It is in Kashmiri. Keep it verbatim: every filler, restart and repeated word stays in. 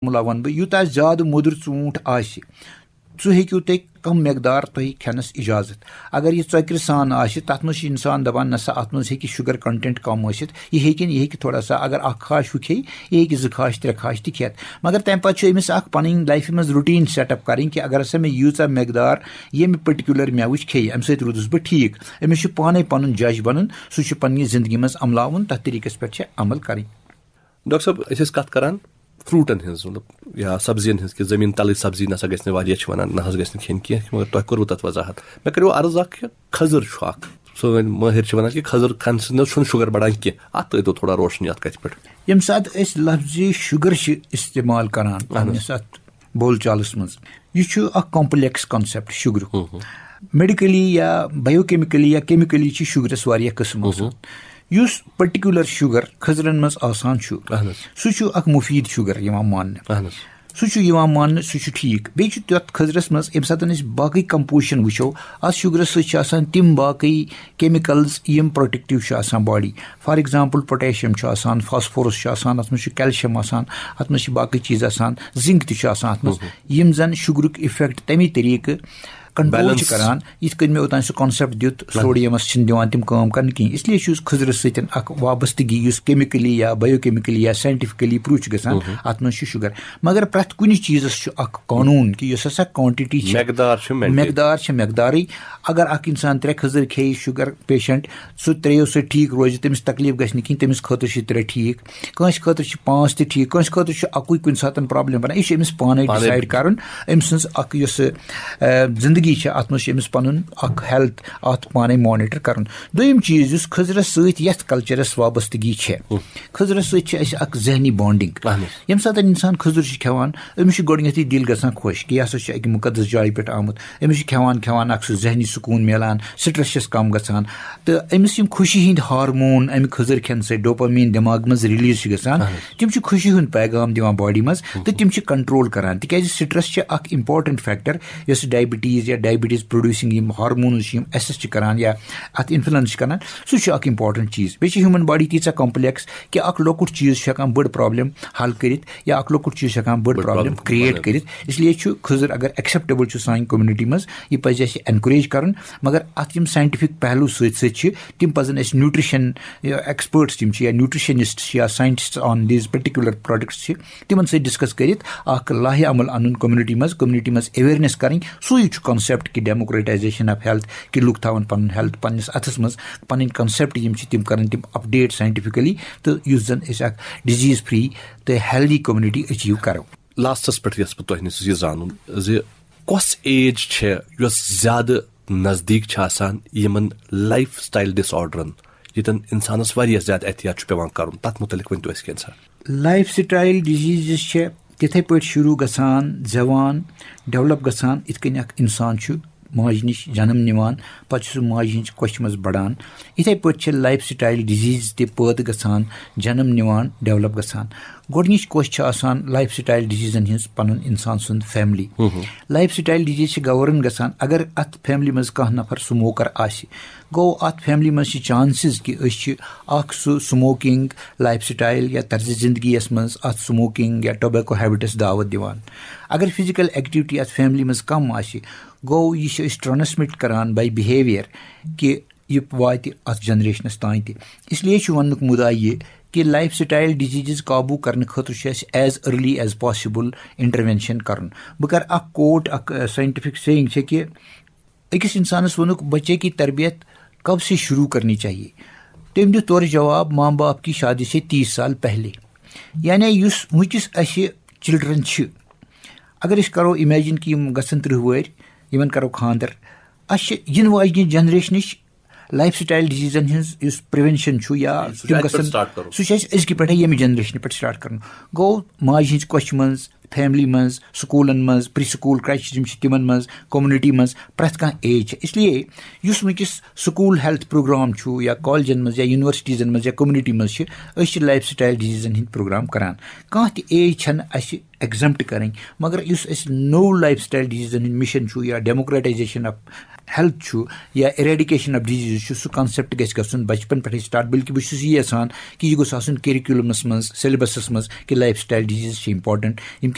فارمولا وَنہٕ بہٕ، یوٗتاہ زیادٕ موٚدُر ژوٗنٛٹھ آسہِ، سُہ ہیٚکِو تُہۍ کم مقدار تۄہہِ کھٮ۪نَس اجازت۔ اگر یہِ ژۄکرِ سان آسہِ، تَتھ منٛز چھُ اِنسان دَپان، "نہ سا، اَتھ منٛز ہیٚکہِ sugar content کم ٲسِتھ، یہِ ہیٚکہِ نہٕ، یہِ ہیٚکہِ تھوڑا سا، اگر اَکھ خاش ہُہ کھیٚیہِ، یہِ ہیٚکہِ زٕ خاش، ترٛےٚ خاش تہِ کھٮ۪تھ۔" مگر تَمہِ پَتہٕ چھُ أمِس اَکھ پَنٕنۍ life منٛز routine set up کَرٕنۍ کہِ اگر ہسا مےٚ ییٖژاہ مقدار ییٚمہِ particular مٮ۪وٕچ کھیٚیہِ، اَمہِ سۭتۍ روٗدُس بہٕ ٹھیٖک۔ أمِس چھُ پانَے پَنُن judge بَنُن، سُہ چھُ پَنٕنہِ زِندگی منٛز عملاوُن، تَتھ طریٖقَس پٮ۪ٹھ چھِ عمل کَرٕنۍ۔ ڈاکٹر صٲب، أسۍ ٲسۍ کَتھ کَران فروٹن ہٕنٛز، مطلب، یا سبزین ہٕنٛز، کہِ زٔمیٖن تَلٕچ سبزی نہ سا گژھِ نہٕ واریاہ، چھِ وَنان، نہ حظ گژھِ نہٕ کھیٚنۍ کینٛہہ، مگر تۄہہِ کوٚروٕ تَتھ وضاحت۔ مےٚ کَریو عرض اَکھ کہِ کھٔزٕر چھُ اَکھ، سٲنۍ مٲہِر چھِ وَنان کہِ کھٔزٕر کھٮ۪نہٕ سۭتۍ نہ حظ چھُنہٕ sugar بَڑان کینٛہہ۔ اَتھ ترٛٲوۍتو تھوڑا روشنی اَتھ کَتھِ پٮ۪ٹھ۔ ییٚمہِ ساتہٕ أسۍ لفظِ sugar چھِ استعمال کران اہن حظ۔ پننِس اَتھ بول چالس منٛز، یہِ چھُ اکھ complex concept sugarُک۔ ہُہ ہُہ۔ Medically یا biochemically یا chemically چھِ sugarس واریاہ قٕسم آسان۔ ہُہ۔ یُس particular sugar کھٔزرن منٛز آسان چھُ، اہن حظ۔ سُہ چھُ اکھ مُفیٖد sugar یِوان ماننہٕ۔ اہن حظ۔ سُہ چھُ یِوان ماننہٕ، سُہ چھُ ٹھیٖک۔ بیٚیہِ چھُ تَتھ کھٔزرَس منٛز، ییٚمہِ ساتہٕ أسۍ باقٕے composition وٕچھو، اَتھ sugarَس سۭتۍ چھِ آسان تِم باقٕے chemicals یِم protective چھِ آسان body۔ For example، potassium چھُ آسان، phosphorus چھُ آسان، اَتھ منٛز چھُ calcium آسان، اَتھ منٛز چھِ باقٕے چیٖز آسان، zinc تہِ چھُ آسان اَتھ منٛز، یِم زَن sugarُک effect تَمی طریٖقہٕ control چھِ balance۔ کران، یِتھ کٔنۍ مےٚ اوٚتام سُہ concept دیُت، sodiumس چھِنہٕ دِوان تِم کٲم کرنہٕ کِہیٖنۍ۔ اس لیے چھُ یُس کھٔزرَس سۭتۍ اکھ وابستگی، یُس chemically یا biochemically یا scientifically prove چھُ گژھان، اَتھ منٛز چھُ sugar۔ مگر پرٛٮ۪تھ کُنہِ چیٖزَس چھُ اکھ قونوٗن کہِ یُس ہسا quantity چھِ، مقدار چھُ maintain۔ مقدار چھِ مقدارٕے۔ اگر اکھ اِنسان ترٛےٚ کھٔزٕر کھیٚیہِ، sugar patient، سُہ ترٛیٚیو سۭتۍ ٹھیٖک روزِ، تٔمِس تکلیٖف گژھِ نہٕ کِہیٖنۍ، تٔمِس خٲطرٕ چھِ ترٛےٚ ٹھیٖک۔ کٲنٛسہِ خٲطرٕ چھِ پانٛژھ تہِ ٹھیٖک، کٲنٛسہِ خٲطرٕ چھُ اَکُے کُنہِ ساتہٕ problem بَنان۔ یہِ چھُ أمِس پانَے پانَے decide کَرُن، أمۍ سٕنٛز اَکھ یۄس، آ، زِندگی چھےٚ، اَتھ منٛز چھُ أمِس پَنُن اَکھ health اَتھ پانَے monitor کَرُن۔ دوٚیِم چیٖز، یُس کھٔزرَس سۭتۍ، یَتھ cultureس وابستگی چھےٚ، کھٔزرَس سۭتۍ چھِ اَسہِ اَکھ ذہنی bonding۔ اہن حظ۔ ییٚمہِ ساتہٕ اِنسان کھٔزٕر چھُ کھٮ۪وان، أمِس چھُ گۄڈٕنٮ۪تھٕے دِل گژھان خۄش کہِ یہِ ہسا چھُ اَکہِ مُقدس جایہِ پٮ۪ٹھ آمُت۔ أمِس چھُ کھٮ۪وان کھٮ۪وان اَکھ سُہ ذہنی سکوٗن میلان، stress چھَس کَم گژھان، تہٕ أمِس یِم خوشی ہٕنٛدۍ hormone اَمہِ کھٔزٕر کھٮ۪نہٕ سۭتۍ dopamine دٮ۪ماغہٕ منٛز release چھِ گژھان، اہن حظ۔ تِم چھِ خوشی ہُنٛد پیغام دِوان body منٛز تہٕ تِم چھِ control کران، تِکیازِ stress چھِ اکھ important factor یۄس diabetes یا diabetes producing یِم hormones چھِ، یِم assess چھِ کران یا اَتھ influence چھِ کران، سُہ چھُ اکھ important چیٖز۔ بیٚیہِ چھِ human body تیٖژاہ complex کہِ اکھ لۄکُٹ چیٖز چھُ ہٮ۪کان بٔڑ problem حل کٔرِتھ یا اکھ لۄکُٹ چیٖز چھُ ہٮ۪کان بٔڑ بٔڑ problem problem create بنٲوِتھ۔ کٔرِتھ۔ اس لیے چھُ کھٔزٕر اگر acceptable چھُ سانہِ community منٛز، یہِ پَزِ اَسہِ encourage کَرُن، مگر اَتھ یِم scientific پہلو سۭتۍ سۭتۍ چھِ، تِم پَزَن اَسہِ nutrition experts یِم چھِ یا nutritionist چھِ یا scientists on these particular products چھِ، تِمَن سۭتۍ discuss کٔرِتھ اَکھ لاہہِ عمل اَنُن community منٛز، community منٛز awareness کَرٕنۍ۔ سُے چھُ concept کہِ democratization of health، کہِ لُکھ تھاوَن پَنُن health پَنٕنِس اَتھَس منٛز، پَنٕنۍ concept یِم چھِ تِم کَرَن تِم update scientifically، تہٕ یُس زَن أسۍ اَکھ disease free تہٕ healthy community achieve کَرو۔ Lastس پٮ۪ٹھ یَژھٕ بہٕ تۄہہِ نِش یہِ زانُن زِ کۄس age چھےٚ یۄس زیادٕ نزدیٖک چھِ آسان یِمَن lifestyle disorderن، ییٚتٮ۪ن اِنسانَس واریاہ زیادٕ احتیاط چھُ پٮ۪وان کَرُن، تَتھ مُتعلِق ؤنۍ تو اَسہِ کینٛژھا۔ Lifestyle diseases چھِ تِتھَے پٲٹھۍ شروٗع گژھان، زٮ۪وان، develop گژھان، یِتھ کٔنۍ اَکھ اِنسان چھُ ماجہِ نِش جنم نِوان، پَتہٕ چھُ سُہ ماجہِ ہِنٛز کۄچھِ منٛز بَڑان۔ یِتھَے پٲٹھۍ چھِ lifestyle disease تہِ پٲدٕ گژھان، جنم نِوان، develop گژھان۔ گۄڈٕنِچ کۄچھ چھِ آسان lifestyle diseaseن ہٕنٛز پَنُن اِنسان سُنٛد family۔ Lifestyle disease چھِ govern گژھان اگر اَتھ family منٛز کانٛہہ نفر smoker آسہِ۔ گوٚو اَتھ family منٛز چھِ chances کہِ أسۍ چھِ اَکھ سُہ smoking lifestyle یا طرزِ زندگی یَس منٛز اَتھ smoking یا tobacco habitس دعوت دِوان۔ اگر physical activity اَتھ family منٛز کم آسہِ، گوٚو یہِ چھِ أسۍ transmit کران by behaviour کہِ یہِ واتہِ اَتھ generationس تام تہِ۔ اس لیے چھُ وننُک مُدعا یہِ کہِ lifestyle diseases قابوٗ کرنہٕ خٲطرٕ چھُ اَسہِ as early as possible intervention کرُن۔ بہٕ کرٕ اَکھ quote، اَکھ، اَ، scientific saying چھےٚ کہِ أکِس اِنسانَس ووٚنُکھ، "بچے کی تربیت کب سے شروع کرنی چاہیے؟" تٔمۍ دیُت تورٕ جواب، "ماں باپ کی شادی سے تیس سال پہلے۔" یعنی یُس وٕنکیٚس اَسہِ children چھِ، اگر أسۍ کرو imagine کہِ یِم گژھن ترٕٛہ وٕہٕرۍ، یِمن کرو خانٛدر، اَسہِ چھِ یِنہٕ واجنہِ generationٕچ lifestyle diseaseن ہٕنٛز یُس prevention چھُ یا سُہ چھُ تِم اَتہِ پٮ۪ٹھ گژھن، start کَرُن۔ سُہ چھُ اَسہِ أزکہِ پٮ۪ٹھے ییٚمہِ generationہِ پٮ۪ٹھ start کَرُن۔ گوٚو ماجہِ ہٕنٛز کۄچھِ منٛز، فیملی منٛز، سکوٗلن منٛز، پری سکوٗل کرچ یِم چھِ تِمن منٛز، کمیونٹی منٛز پرٛٮ۪تھ کانٛہہ ایج چھِ۔ اس لیے یُس وٕنکیٚس سکوٗل ہیلتھ پروگرام چھُ یا کالجن منٛز یا یونیورسٹیٖزن منٛز یا کمیونٹی منٛز چھِ، أسۍ چھِ لایف سٹایل ڈیزیٖزن ہٕنٛدۍ پروگرام کران۔ کانٛہہ تہِ ایج چھَنہٕ اَسہِ ایگزمپٹ کرٕنۍ، مگر یُس اَسہِ نوٚو لایف سٹایل ڈیزیٖزن ہُنٛد مِشن چھُ یا ڈیموکریٹائزیشن آف ہیلتھ چھُ یا ایریڈیکیشن آف ڈیزیٖز چھُ، سُہ کانسیپٹ گژھِ گژھُن بچپن پٮ۪ٹھٕے سٹارٹ۔ بلکہِ بہٕ چھُس یی یژھان کہِ یہِ گوٚژھ آسُن کیریکولمس منٛز، سیلبسس منٛز، کہِ لایف سٹایل ڈیزیٖز چھِ امپورٹنٹ۔ یِم